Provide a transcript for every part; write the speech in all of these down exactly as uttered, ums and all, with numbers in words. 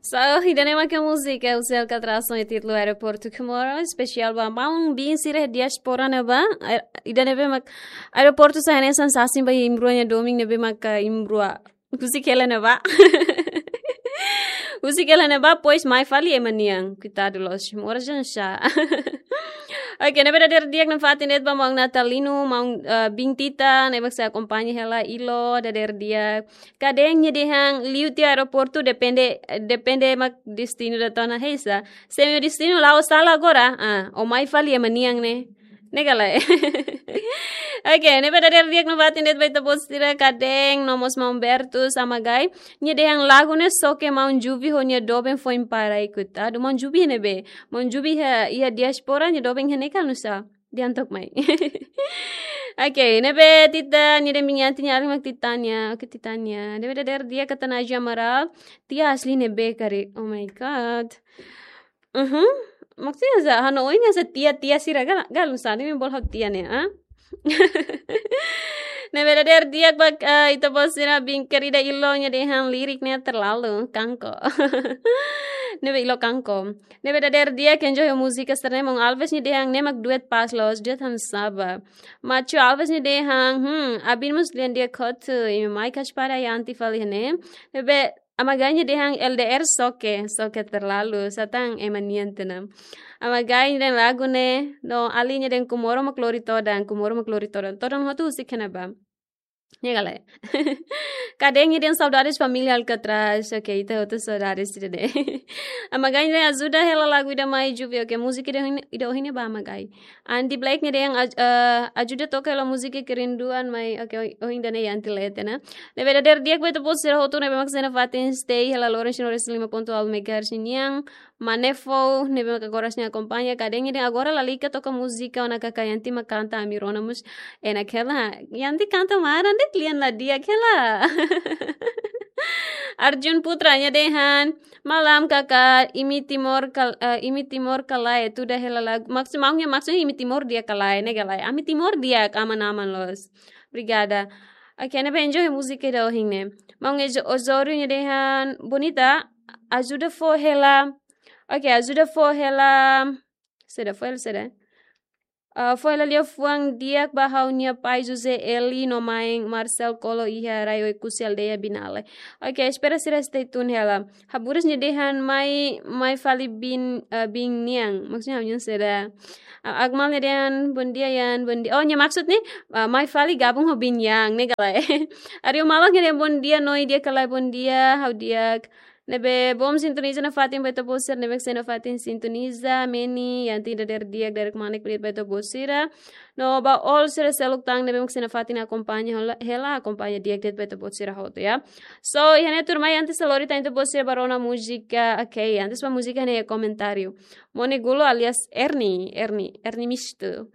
So, ida-ne'e mak múzika husi Alcatraz ho títulu Aeroportu Comoro, espesiál ba maun-bin sira diáspora ne'ebá. Aer-, ida-ne'ebé mak aeroportu sira hanesan sasin ba imi-rua nia domin ne'ebé mak imi-rua husik hela ne'ebá. Husik hela ne'ebá, pois mai fali ema nian. Koitadu loos, moras hanesan. Oke, ne'ebé dadeer di'ak nafatin de'it ba maun Natalino, maun, eh, bin Tita, ne'ebé mak sei akompaña hela Ilo, dadeer di'ak. Kadeeng nia dehan liu tiha aeroportu depende, depende mak destinu ida tona hesa. Se imi-nia destinu la'o sala agora, ah, o mai fali ema nian ne'e. Ne'e ka lae. Oke, ne'ebé dadeer di'ak nafatin de'it ba ita-boot sira, kadeeng no mós maun Bertus Amagai. Nia dehan lagu ne'e soke maun Jubi ho nia doben foin para ikut. Adu maun Jubi ne'ebé. Maun Jubi iha, iha diáspora, nia doben iha ne'e ka nusá. Di'ak tok mai. Oke, ne'ebé Tita, nia dehan bin Yanti nia alin mak Titania. Oke, Titania. Ne'ebé dadeer di'ak, kata Naji Amaral. Tia asli ne'ebé karik. Oh my God. Mhm. Maksudnya sa, ha'u-nia oin hanesan tia-tia sira, gal, gal nusá, ne'e bolu ha'u tia ne'e, ah? Ne'ebé dadeer di'ak ba, eh, ita-boot sira bin kerida Ilo nia dehan lirik ne'e terlalu, kanko. Ne'ebé Ilo kanko. Ne'ebé dadeer di'ak enjoy múzika sira-ne'e, maun Alves nia dehan ne'e mak duet pas loos, duet hanesan sá ba. Machu Alves nia dehan, hmm, abin mós lian di'ak hotu, imi mai kaspara Yanti fali ne'e. Ne'ebé Amagai nia dehan L D R soke, soke terlalu, sá tan ema nian tiha ona. Amagai nia dehan lagu ne'e, no alin nia dehan Comoro mak lori todan, Comoro mak lori todan. Todan hotu husik iha ne'ebá. Ne'e ka lae. Kadeeng nia dehan saudades família Alcatraz. Oke, ita hotu saudades ida-ne'e. Amagai nia dehan ajuda hela lagu ida mai Jubi. Oke, múzika ida ohin, ida ohin ne'e ba Amagai. Andy Blake nia dehan aj-, eh, ajuda toka hela múzika Kerinduan mai. Oke, oh, oh, ida-ne'e Yanti lee tiha ona. Ne'ebé dadeer di'ak ba ita-boot sira hotu ne'ebé mak sei nafatin stay hela Lawrence Norris lima ponto nol megahertz nian. Manefo, ne'ebé mak agora sei akompaña, kadeeng nia dehan agora lalika toka múzika ona kaka Yanti mak kanta ami rona mós enak hela. Yanti kanta maran de'it lian la di'ak hela. Arjun Putra nia dehan, malam kaka, imi Timor kal-, eh, imi Timor ka lae, tuda hela lagu. Maksud, maun nia maksud imi Timor di'ak ka lae, ne'e ka lae. Ami Timor di'ak, aman-aman loos. Obrigada. Oke, ne'ebé enjoy múzika ida ohin ne'e. Maun Ezo-, Osorio nia dehan, bonita, ajuda fó hela. Oke, ajuda fó hela. Saida, fó hela saida? Ah, fó hela liafuan di'ak ba ha'u-nia pai José Eli no mãe Marcel Colo iha rai Oekusi aldeia Binale. Oke, espera sira stay tune hela. Haburas nia dehan mai, mai fali bin, eh, bin nian. Maksudnya ha'u-nian saida. Ah, Akmal nia dehan, bom dia Yan, bom dia. Oh, nia maksud ne'e, ah, mai fali gabung ho bin Yang, ne'e ka lae. Ario Malak nia dehan, bom dia Noi, di'ak ka lae, bom dia, ha'u di'ak. Ne'ebé bom sintoniza nafatin ba ita-boot sira, ne'ebé mak sei nafatin sintoniza, Meni, Yanti dadeer di'ak, dadeer kmanek ba ita-boot sira. No ba all sira seluk tan, ne'ebé mak sei nafatin akompaña hela, hela akompaña di'ak de'it ba ita-boot sira hotu, ya. So, iha ne'e tuirmai antes de lori tan ita-boot sira ba rona múzika, oke, antes ba múzika ne'e komentáriu. Mone Gulo alias Erni, Erni, Erni Mistu.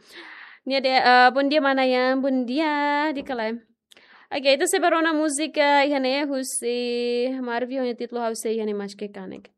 Nia dehan, eh, bom dia mana Yan, bom dia, di'ak ka lae. Oke, ita sei ba rona múzika iha ne'e husi Marvio nia títulu Ha'u Sei iha ne'e Maske Kanek.